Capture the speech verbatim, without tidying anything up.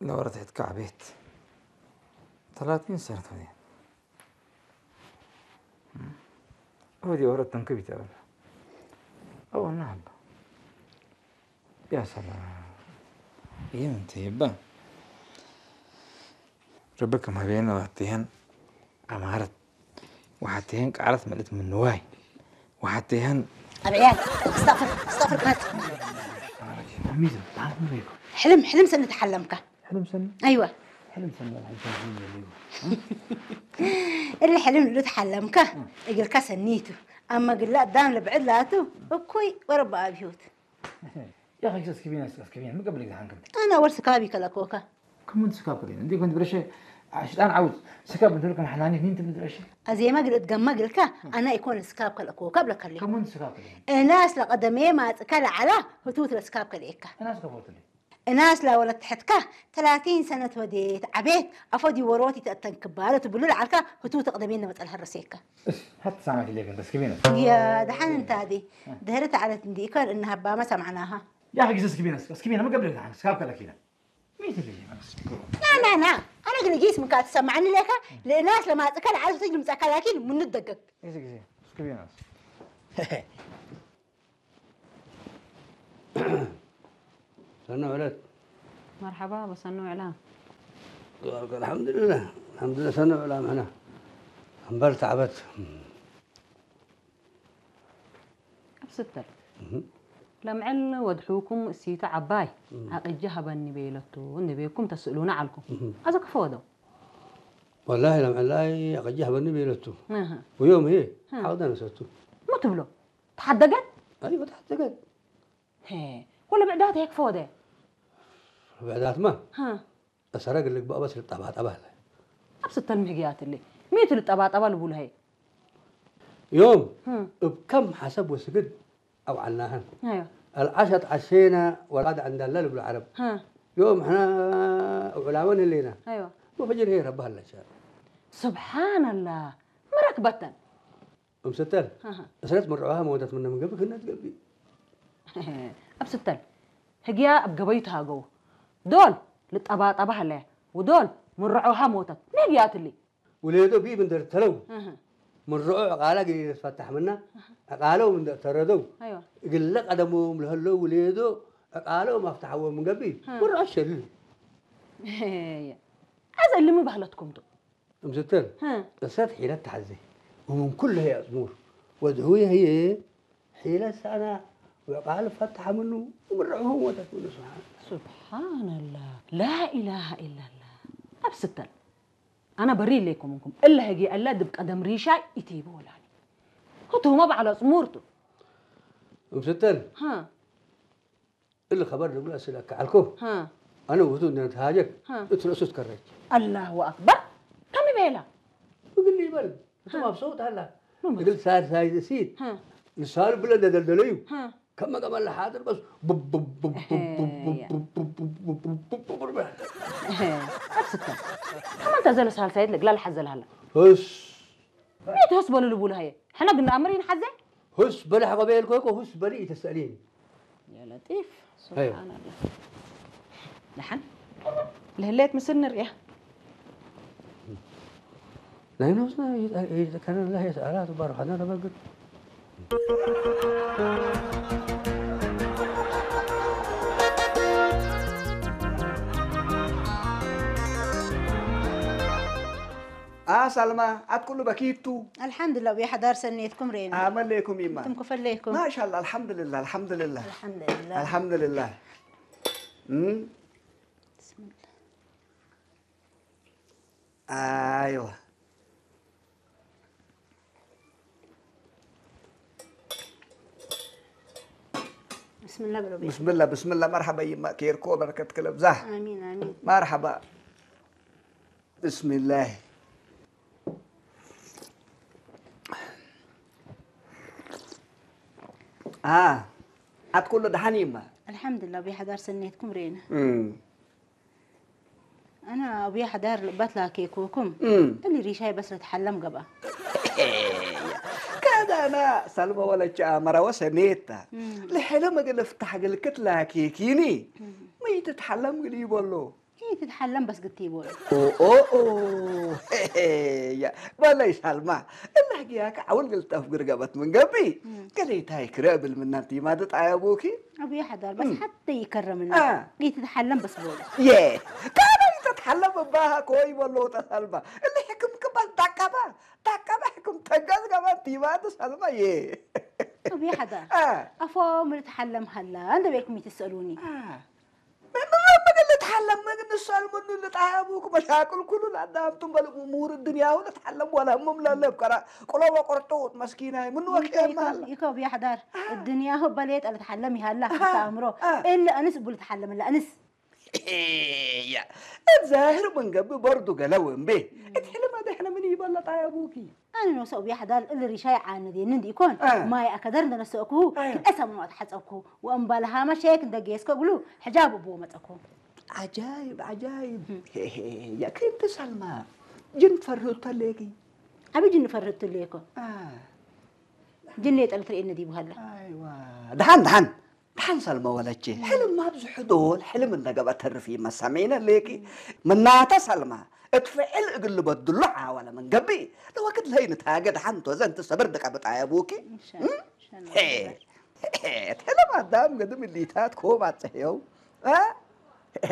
ለወረት ሐትካ ዐቤት። ተላቲን ሰነት ወዴን። ወዲ ወረት ተንክብ ይተበል። አው እና ሀባ። ያ ሰላም። ይህም ትይባ። ረበከ ማቤነ ዋቴህን ዐማረት። ወሐቴህን ቃለት መልእት ምን ንዋይ። ወሐቴህን አብዕያት። እስተግፍር፣ እስተግፍር ክመት። አሚዘ፣ ታን ምን ይኩ? ሕልም፣ ሕልም ሰኒ ተሐለምከ። ሕልም ሰኒ? አይወ። ሕልም ሰኒ ወላ ሕልም ሰኒ ይበል ይወ። እሊ ሕልም እሉ ተሐለምከ፣ እግልከ ሰኒቱ። አመ ግለ አዳም ለብዕድ ላቱ፣ እኩይ ወረበ አብዮት። ያኺ፣ እስኪ ቢና፣ እስኪ ቢና፣ ምን ቀብልክ ሐንክም? አና ወር ስካብ ኢከለኮከ። ከሙን ስካብ ከሌን? እንዴ ኩንት ብረሸ፣ ሽጣን ዐውት፣ ስካብ እንተ ልከም ሐናኒ፣ ኒን ትብል ብረሸ? አዜመ ግል እትገመ ግልከ፣ አና ኢኮን ስካብ ከለኮከ ብለከሌ። ከሙን ስካብ ከሌን? እናስ ለቀደሜ ማጽከ ለዐላ፣ ህቱት ለስካብ ከሌከ። እናስ ከፎትሊ? እናስ ለወለት ተሐትከ፣ ተላቲን ሰነት ወዴት፣ ዐቤት፣ አፎ ዲወሮት ኢተአተንክባለ ትብሉ ለዐልከ፣ ህቱት እቅደሜነ መጸል ሀረሴከ። እስ፣ ሐት ሳማት ኢሌክ እንተ እስኪ ቢነ። ያ ደሐን እንታዴ፣ ደህረት ዐለት እንዲ ኢኮን እነ ሀባመ ሰምዐናሃ። ያ ሐጊስ እስኪ ቢነ፣ እስኪ ቢነ፣ ምን ቀብልክ ደሐን፣ ስካብ ከለኪነ። ሚት ልጅ ና፣ ና፣ ና። አነ ግን ጊስ ምንካ ትሰማዕኒ ሌከ፣ ለእናስ ለማጽከ ለዓል ትጅ ልምጻካ ላኪን ምኑ ደገግ። ጊዜ፣ ጊዜ፣ እስኪ ቢነ። ሰኖ ዕለት። መርሐባ፣ በሰኖ ዕላ። አልሐምዱሊላህ፣ አልሐምዱሊላህ፣ ሰኖ ዕላ ምሕና። እምበል ተዕበት። እብ ስተል። እህ። ለምዕል ወድሑኩም እሲቱ ዐባይ እህ። አቅጀ ሀበኒ ቤለቱ እንዴ ቤኩም ተስእሉነ ዐልኩም። እህ። አዘ ክፎ ወደው? ወላሂ ለምዕል ላይ አቅጀ ሀበኒ ቤለቱ። እህ። ወዮም ህዬ እህ። ዐቅደ ነሰቱ። ሙ ትብሎ? ተሐደገት? አይወ ተሐደገት። ሄ፣ ወለ ብዕዳት ሄክ ክፎ ወደ? ብዕዳትማ ሀ። እሰረግ ልግበእ በስ ልጠባጠበ ህለ። አብ ስተል ምህግያት እሊ። ሚ ቱ ልጠባጠበ ልቡል ሀይ? ዮም፣ ህም። እብ ከም ሐሰብ ወስግድ አውዓልናህን። አይዋ። አልዐሸ ተዐሼነ ወልጋድ ዐንዳለ ልብሉ ዐረብ። ሀ። ዮም ሕነ እብ ዑላመን ህሌነ። አይዋ። ወፈጅር ህይ ረቢ ሀለሸ። ሱብሓነላህ። መረክ በተን። እም ስተል፣ አሃ። እስረት ምርዖሃ መወተት ምነ ምን ገብእ ክነት ገብእ። እብ ስተል፣ ህግያ እብ ገበዩ ተሃገው። ዶል ልጠባጠበ ሀለያ፣ ወዶል ምርዖሃ ሞተት። ሚ ህግያት እሊ? ውሌዶ ቢ ምን ደርተለው፣ አሃ። ምርዖ ዕቃለ እግል ኢልትፈታሕ ምነ፣ አሃ። ዕቃለው ምን ደርተረደው፣ አይዋ። እግለ ቀደሞም ለሀለው ውሌዶ ዕቃለው ማፍተሐዎ ምን ገብእ፣ አሃ። ምርዖ ሸልል። አዘ እሊ ሚ በህለትኩም ቱ? እምስተል፣ ሀ። እሰት ሒለት ተሐዜ፣ ወምን ኩሉ ህይ አጽሙር ወድሁየ ህዬ ሒለት ሰአና ወዕቃል ፈተሐ ምኑ፣ ወምርዕሁ ሞተት ምኑ። ስብሓን። ሱብሓነላህ። ላኢላሃ ኢለላህ። አብ ስተል፣ አነ በሪ እሌኩም እንኩም፣ እለ ህግየ እለ ድብ ቀደም ሪሻይ ኢቲቡ ወላኒ። ህቱመ በዐል አጽሙር ቱ። እምስተል፣ ሀ። እሊ ከበር ልብሎ አስእለከ ዐልኮ። ሀ። አነ ውቱ እንዴ ነትሃጀክ፣ ሀ። እት ረእሱ ትከረጅ። አላሁ አክበር። ከም ቤላ? እግል ይበል። እቱ ሀ። ማብሰውት ሀላ። ምን እግል ሳልሳይ ሲት። ሀ። ልሳኑ ብለ እንዴ ደልደለዩ። ሀ። ከመ ገመል ለሓድር በስ ቡብ ቡብ ቡብ ቡብ ቡብ ቡብ ቡብ ቡብ ቡብ ቡብ ቡብ ቡብ። እህ፣ አብ ስከ። ከመ እንተ ዘለ ሳልሳይት ለእግላ ለሐዘ ለሀላ። ህስ። ሚ ቱ ህስ በሉ ልቡሉ ሀየ? ሕነ ግና አምር ኢንሐዜ? ሁስ በሊ ሐቆ ቤልኮ እኮ ሁስ በሊ ኢተሰእሊኒ። ያ ለጢፍ፣ አይዋ። ሱብሓነላህ። ደሐን ለህሌት ምስል ንርኤ። ናይ ነፍስና ይጠ-፣ ይጠቀነ ለህ የሰአላት ባርሐነ ለበግድ። አ፣ ሰልማ፣ አት ኩሉ በኪቱ? አልሐምዱሊላህ፣ ወብሐዳር ሰኔትኩም ሬና። አመሌኩም ይማ? እንቱም ክፈሌኩም? ማሻአላህ፣ አልሐምዱሊላህ፣ አልሐምዱሊላህ። አልሐምዱሊላህ። አልሐምዱሊላህ። እም? ብስሚላህ። አይዋ። ብስሚላህ ብሎ ቤት። ብስሚላህ፣ ብስሚላህ። መርሐባ ይማ፣ ኬርኮ በረከት ክለብዛህ። አሚን፣ አሚን። መርሐባ። ብስሚላህ። አ፣ አት ኩሉ ደሐን ይማ? አልሐምዱሊላህ፣ ወብሐዳር ሰኔትኩም ሬና። እም። አነ አቡየ ሐዳር ልእበት ላኬኮኩም፣ እም። እሊ ሪሻይ በስ ለትሐለም ገብአ። ከዳና ሰልመ ወለቸ አመረ ወሰኔታ። እም። ለሕልም እግል እፍታሕ እግል ክት ላኬኪኒ፣ እም። ሚ ትትሐለም እግል ይበሎ። ኢትትሐለም በስ ግቲ ቦል። ኦ፣ ኦ፣ ኦ። ሄ፣ ሄ፣ ያ፣ በለይ ሳልማ፣ እለ ህግያከ ዐውል ግልጠፍ ግርገበት ምን ገብእ፣ እም። ገሌታይ ክረ እብል ምናን ቲማድ ጣየቡኪ? አቡዬ ሐዳር፣ በስ እም። ሐቴ ይከረምኒ። አ። ኢትትሐለም በስ ቦል። ዬ፣ ካነ ኢትትሐለም እባሃ ኮይ በሎ ተሳልማ። እለ ሕክም ክባል ዳቀባ፣ ዳቀባ ሕክም ተገዝ ገባን ቲማድ ሳልማ ዬ። አቡዬ ሐዳር፣ አ። አፎ ምን ልትሐለም ሀላ እንደ ቤልኩም ኢትሰአሉኒ። አ። ምን፣ ምን፣ ምን ልትሐለም? ምን ንሳል ምኑ ልጣየቡክ መሻቅል ኩሉ ለአዳምቱም በል እሙር እድንያሁ ልትሐለም ወለ ህሙም ለለ እብ ቀራ ቁሎ ወቅርጡጥ መስኪናይ ምኑ ወኬ ይከ፣ ይከ፣ ማለ። ይከ አቡዬ ሐዳር፣ አ። እድንያሁ በሌጠ ልትሐለም ይሃላ አ፣ ሐታ አምሮ አ። እለ አንስ እቡ ልትሐለም እለ አንስ። ያ፣ እት ዛህር ምን ገብእ በርዱ ገለው እምቤ። እት ሕልም አደሕነ ምን ይበል ለጣየቡኪ? አነ ኖሰ አቡዬ ሐዳር እሊ ሪሻይ ዓነዴኒ እንዲ ኢኮን፣ አ። ማይ አከደር እንደ ነሰእኩሁ፣ አያ። ክልኤ ሰሙን ወአትሐጸብኩሁ፣ ወእምበል ሃመ ሼክ እንደ ጌስኮ እግሉ፣ ሕጃብ እቡ ወመጸኩሁ። ዐጃይብ፣ ዐጃይብ። እም። ሄ፣ ሄ፣ ሄ፣ ያ፣ ክእንተ ሰልማ፣ ጅን ፈርህቱ ሌኪ? አቢ ጅን ፈርህቱ ሌኮ። አ። ጅን የጠለት ርኤነ ዲቡ ሀለ። አይዋ። ደሐን፣ ደሐን። ደሐን ሰልመ ወለቼ፣ እም። ሕልም አብዝሑ ዶል፣ ሕልም እንደ ገብአ ተርፍ ኢመ ሰሜነ ሌኪ። እም። ምናተ ሰልመ፣ እት ፍዕል እግል ልበድሉ ሓወለ ምን ገብእ፣ ለወክድ ለኢንታገ ደሐን ቶዘ እንቲ ሰብር ድቀ ብጣየቡኪ። እም፣ ሸ-፣ እም? ሸ-፣ ሄ፣ ሄ፣ እት ሕልም አዳም ገድም እሊታት ኮም አጽሕየው። አ? ሄ።